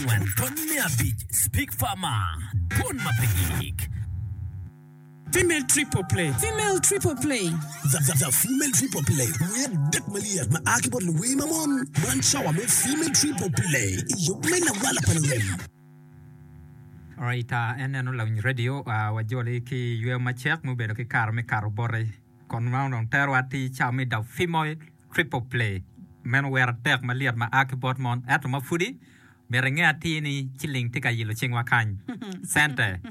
angwen tony me abic Speak Farmer, Dwon ma pe gik. Female Triple Play. Female Triple Play. The, the, the Female Triple Play, wer adek malyet ma a ki bot luwer ma mon. Man cawa me Female Triple Play i yub me lawala pa lurem. Alright, uh, en neno lawiny radio uh, wajoli ki yweyo macek mubedo ki kare me kato boti kon ma onongo terowa atir cawa me The Female Triple Play. Meno wer adek malyet ma a ki bot mon ento ma pudi Myero inge atir ni ciling tye ka yilo cingwa kany. Cente,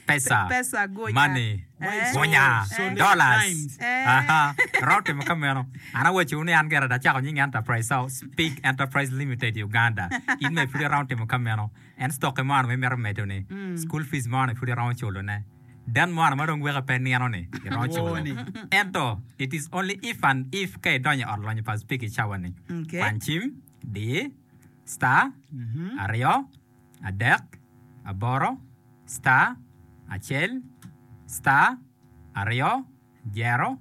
pesa, Pesa, gunya. money, Eh. gunya, Eh. dollars. Eh. Aha. Romo timo ka meno. An awaco ni an gire acako nying enterprise so Speak Enterprise Limited Uganda. In bene pud iromo timo ka meno. En stoki mo ma imito medo ni, school fees mo ni pud iromo culo ne. Den mo ma dong weke pe nino ni iromo culo. Woo ni. Ento it is only if and if ka idonyo i ot lonyo pa Speak i cawa ni. Okay. Kwany cim, di. star, aryo, adek, aboro, star, acel, star, aryo, jero,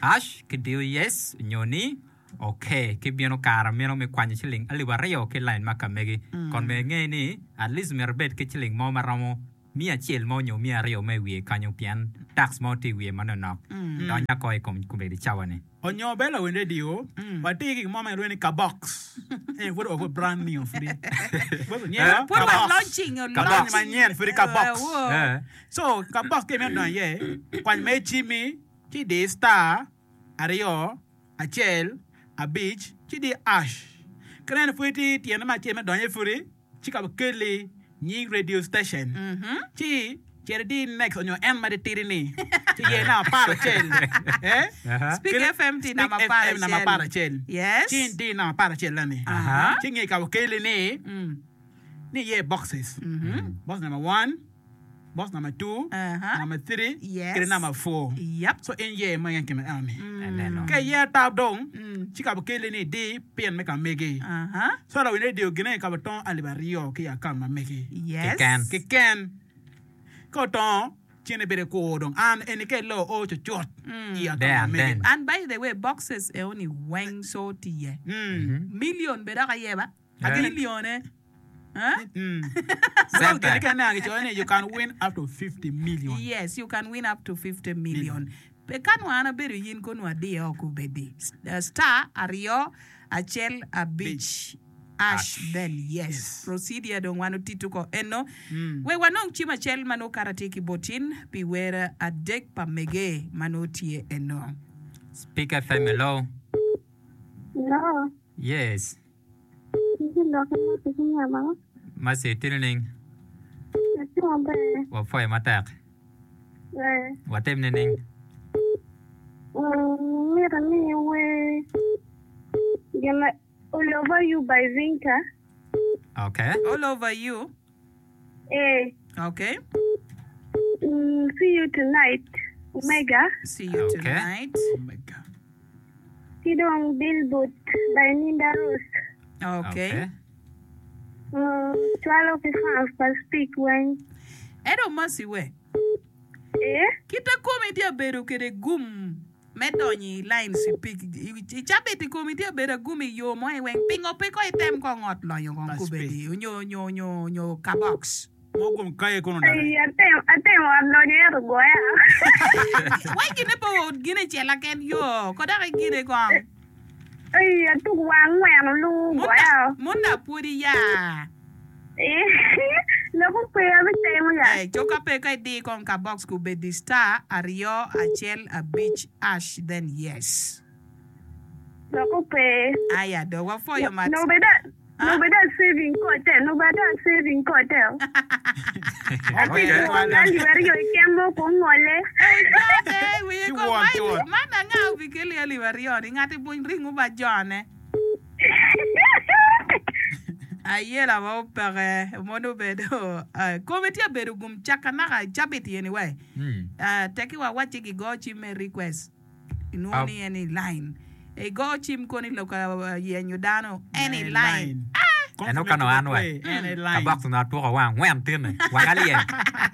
ash ki diyo yes nyo ni ok ki bino kare meno me kwanyo ciling alip aryo ki lain ma ka megi. Kon bene inge ni at least myero ibed ki ciling mo ma romo miya acel mo nyo miya aryo mo i wiye kanyo pien tax mo tye i wiye manonok donya ko i kom kombeddi cawa ni. Onyo bene lawiny radio, watye ki gin mo ma kilwongo ni kabox. Eni pud ogo brand new pudi. Pud onyero Pud wa kabox. launching, Kabox launching. manyen pudi kabox. Wo. Eh. So kabox ka imito donyo iye, kwany mere cimmi ci idi star aryo acel abic ci idi ash. Ka ineno pud itye tyene me acel me donyo iye pudi, ci ka okelli nying radio station ci cit idi next onyo en ma titidi ni ci ye namba aparacel eh Speak FM tye Speak namba FM namba aparacel. aparacel Yes. ci idi namba aparacel ni ci nge ka okelli ni ni iye boxes box number one Box number 2, Aha. number 3, Yes. kede number 4. Yep. So in yer mo keken kine eno ni. Aneno. Ka iyer tap dong, ci ka bikeli ni idi pin me ka megi. Aha. So lawiny radio gine ka bitongo alip aryo ki i akaunt ma megi. Yes. Keken. Keken. Ka otongo, ci en ibedo kur dong. An eni ka ilo o cucut i akaunt There ma and megi. then. And by the way, boxes eoni weng so tye iye. Million bene dok aye ba. Milione. Cente. Gin kene anga gicoyo ni you can win up to 50 million. Yes, you can win up to 50 million. Pe ka nongo an abedo yin kono adiye oko obedi. Star aryo acel abic ash then yes. Procedure dong wan otito ko eno. Wek wanong cim acel ma nongo kara tye ki botin pi wer adek pa mege ma nongo tye eno. Speak FM hello. Hello. Yes. Tye lok ma tye ki nyama. Mercy, itye nining? Atye maber. Wapwoyo matek. Eh. Watim nining? Mm, mito ni iwer gin ma All Over You by Vinka. Okay. All over you. Eh. Okay. Mm, see you tonight, Omega. See you Okay. tonight. Omega. Ki dong Billboard by Ninda Rose. Okay. Mm, cwalo ki fans pa Speak weng. Ento Mercy we, Eh? kita komi tye abedo kede gum me donyo i line Speak. I cabit i komi tye abedo agum i yo mo i weng. Pingo pe ko item kong ot lonyo kong Pa kubedi onyo onyo onyo onyo kabox. Mo gum kaye kono dok. Ai, atemo, atemo ot lonyo ento ogoya. Wai gine pe ot gine cela ken yo ko dok igine kong. Ai, atuk wang ngwen olu ogoya. Munda pwodi ya. Lok okwe abitemo ya. Eh, coka pe ka idi kong ka box ku bedi star aryo acel abic ash then yes. Lok okwe. Aya do wapwoyo mat. Nongo bed Nongo bedo a saving kote, nongo bedo a saving kote. Okay. Alip aryo keken mo ko ngole. Ojote, wiye Ci ko won, ci won. man anga obikeli alip aryo ni ngati buny ringo ba jone. Ayela ma opeke mono obedo eh, kome tye abedo gum caka naka cabit yeni we. Mm. Eh, teki wa wacci gigo cim me request. Inwongo ni en i line. Igo cim kono i lok yenyo dano, en i line. Eno ka nongo an wa, kabok onongo atwoko wang angwen tinne, wanga lyel.